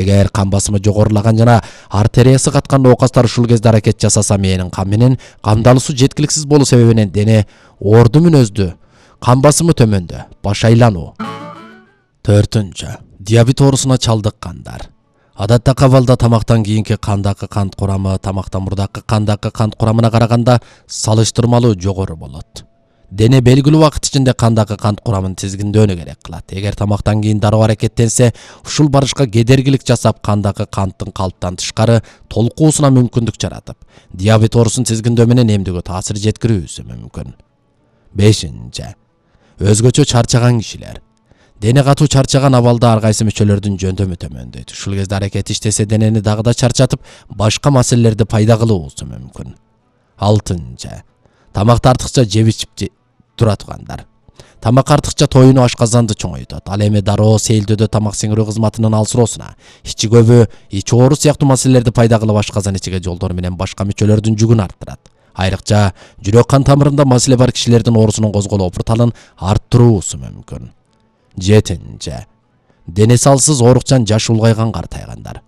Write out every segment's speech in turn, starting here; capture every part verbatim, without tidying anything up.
Эгер кан басымы жогорулаган жана артериясы каткан оокастар ушул кезде аракет жасаса, мээнин кан менен камдалуусу жеткиликсиз болуу себебинен дене орду мүнөздүү, кан басымы төмөндө, баш айлануу. Төртүнчү. Диабет оорусуна чалдыккандар. Адаттагы абалда тамактан кийинки кандагы кант курамы тамактан мурдакы кандагы кант курамына караганда салыштырмалуу жогору болот. Дене белгилүү убакыт ичинде кандагы кант курамын тизгиндөөнү керек кылат. Эгер тамактан кийин дароо аракеттенсе, ушул барышка кедергилик жасап, кандагы канттын калптан тышкары толкуусуна мүмкүндүк жаратып, диабет оорусун тизгиндөө менен эмдүүгө таасир жеткирүүсү мүмкүн. Бешинчи. Өзгөчө чарчаган кишилер. Дене катуу чарчаган абалда ар кайсы мүчөлөрдүн жөндөмү төмөндөйт. Ушул кезде аракет иштесе, денени дагы да чарчатып, башка маселелерди пайда кылуусу мүмкүн. Алтынчы. Тамакты артыкча жеп ичип тура тургандар. Тамак артыкча тоюну ашказанды чоңойтот. Ал эми дароо сейилдөөдө тамак сиңирүү кызматынын алсыроосуна, ичи көбү, ич оору сыяктуу маселелерди пайда кылып, ашказан ичиге жолдор менен башка мүчөлөрдүн жүгүн арттырат. Айрыкча жүрөк кан тамырында маселе бар кишилердин оорусунун козголоо опурталын арттыруусу мүмкүн. Жетинчи. Дене салсыз оорукчан жаш улгайган картайгандар.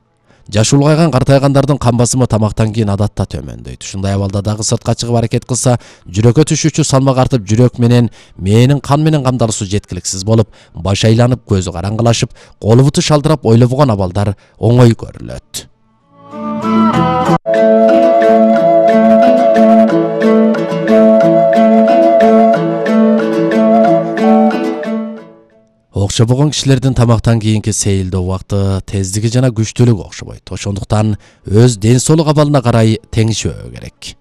Жаш улгайган картайгандардын кан басымы тамактан кийин адатта төмөндөйт. Ушундай абалда дагы сыртка чыгып аракет кылса, жүрөккө түшүүчү салмак артып, жүрөк менен мээнин кан менен камдалуусу жеткиликсиз болуп, баш айланып, көзү караңгылашып, колу буту шалдырап, ойлобогон абалдар оңой көрүлөт. Окшобогон кишилердин тамактан кийинки сейилдөө убакыты тездиги жана күчтүүлүгү окшобойт. Ошондуктан өз ден соолук абалына карай теңишпөө керек.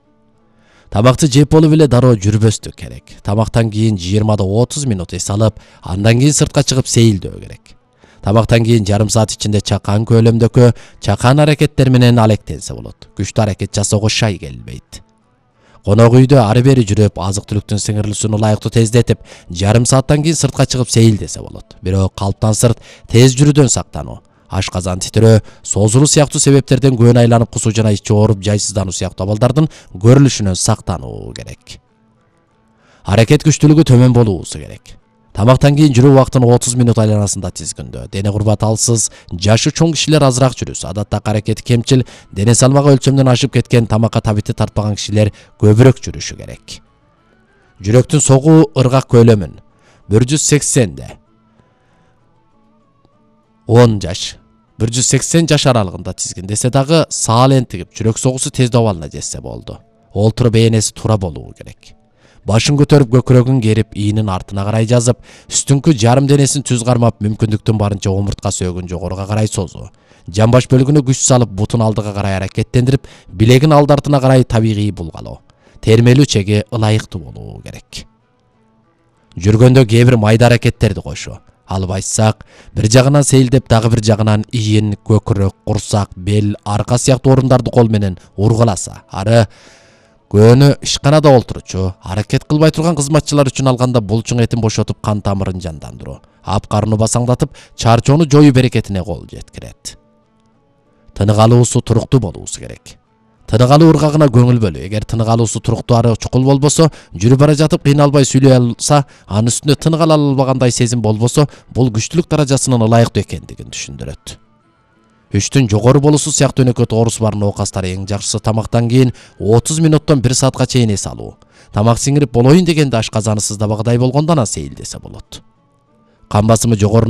Тамакты жеп болуп эле дароо жүрбөстүк керек. Тамактан кийин жыйырмадан отуз минут эс алып, андан кийин сыртка чыгып сейилдөө керек. Тамактан кийин жарым саат ичинде чакан көлөмдөгү чакан аракеттер менен алектенсе болот. Күчтүү аракет жасоого шай келбейт. Конок үйдө ары бери жүрүп, азык-түлүктүн сиңирилүүсүн ылайыктуу тездетип, жарым сааттан кийин сыртка чыгып сейилдесе болот. Бирок калптан сырт тез жүрүүдөн сактануу, ашказан титирөө, созулуу сыяктуу себептерден көөн айланып кусуу жана ичи ооруп, жайсыздануу сыяктуу абалдардын көрүлүшүнөн сактануу керек. Аракет күчтүүлүгү төмөн болуусу керек. Тамактан кийин жүрүү убактын отуз минут айланасында тизгиндөө. Дене курбаты алсыз, жашы чоң кишилер азыраак жүрүсө, адаттагы аракети кемчил, дене салмагы өлчөмдөн ашып кеткен, тамакка табити тартпаган кишилер көбүрөөк жүрүшү керек. Жүрөктүн согуу ыргак көлөмүн бир жүз сексенде он жаш, бир жүз сексен жаш аралыгында тизгиндесе дагы саал энтигип, жүрөк согуусу тездөө абалына жетсе болду. Олтуруп ээрнеси туура болуу керек. Башын көтөрүп, көкүрөгүн керип, ийинин артына карай жазып, үстүңкү жарым денесин түз кармап, мүмкүндүктүн барынча омуртка сөөгүн жогоруга карай созуу. Жамбаш бөлүгүнө күч салып, бутун алдыга карай аракеттендирип, билегин алды артына карай табигый булгалоо. Термелүү чеги ылайыктуу болуу керек. Жүргөндө кээ бир майда аракеттерди кошуу. Алып айтсак, бир жагынан сейилдеп, дагы бир жагынан ийин, көкүрөк, курсак, бел, арка сыяктуу орундарды кол менен ургуласа, ары көөнү ишканада олтурчу, аракет кылбай турган кызматчылар үчүн алганда булчуң этин бошотуп, кан тамырын жандандыруу, ап карынды басаңдатып, чарчоону жоюу берекетине кол жеткирет. Тынык алуусу туруктуу болуусу керек. Тынык алуу ыргагына көңүл бөлүү. Эгер тынык алуусу туруктуу ары чукул болбосо, жүрүп бара жатып кыйналбай сүйлөй алса, анын үстүнө тынык ала албагандай сезим болбосо, бул күчтүүлүк даражасынын ылайыктуу экендигин түшүндүрөт. Үчтүн жогору болуусу сыяктуу өнөкөт оорусу бар оокастар эң жакшысы тамактан кийин отуз минуттан бир саатка чейин эс алуу. Тамак сиңирип болоюн дегенде ашказаны сыздабагыдай болгондо ана сейилдесе болот. Кан басымы жогору